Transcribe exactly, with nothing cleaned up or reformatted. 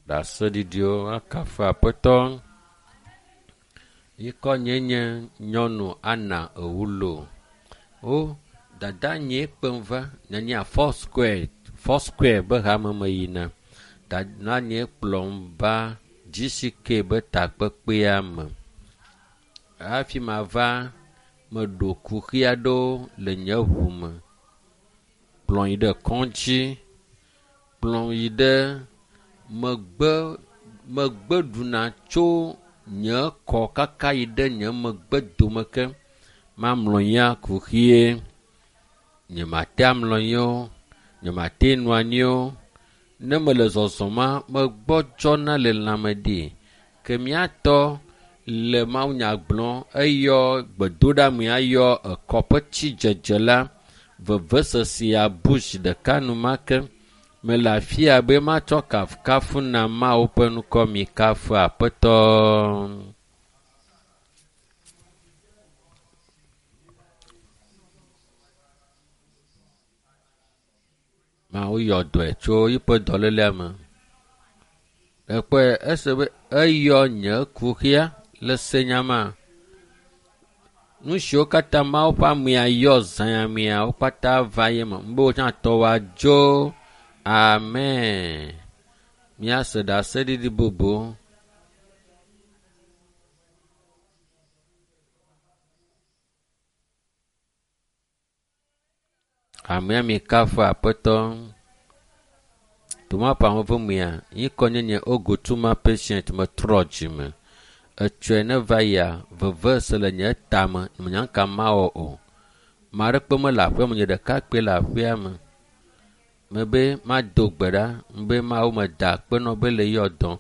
Ɖaseɖiɖiwo akafu aƒetɔ. Yikɔ nye nye nyɔnu Anna Ewulo. Wo dada nye kpem va nyanya four square four square be hame me yina. Dada nye kplɔm va GCK be takpekpea me. Hafi mava meɖo kuxi aɖewo le nye ŋu me. Kplɔ yi ɖe kɔdzi, kplɔ yi ɖe megbe megbe ɖuna tso nye kɔ kaka yi ɖe nye megbe dome ke. Mamlɔ anyia kuxie. Nyemate amlɔ anyi o, nyemate nɔ anyi o. Ne mele zɔzɔma, megbɔdzɔna le lãme ɖi. Ke míatɔ le mawunya gblɔm eyɔ gbedoɖamea yɔ ekɔ ƒe tsidzedze la vevesese abu zi ɖeka enumake. Mele afi ya be matsɔ kafukafu na Mawu ƒe ŋkɔ mi kafu aƒetɔ. Mawu yɔ dɔe tso yiƒe dɔlélea me. Ekpɔe ese be eyɔ nye kuxia le senyama. Nu siwo katã Mawu ƒe amea yɔ zã mea wo katã va ye me. Be wotsã tɔ woadzo. Amen. Míase ɖaseɖiɖi bubu. Amea mi kafu aƒetɔ. Toma ƒe ame mea, yikɔ nye nye Ogotuma patient metrɔ dzime. Etsɔe ne va yia, veve se le nye tame, menya ka mawɔ o. Ame aɖeke mele aƒea me, nye ɖeka kpoe le aƒea me. Mebe mado gbe ɖa, be Mawu meda akpe nɔ be le yɔ dɔm.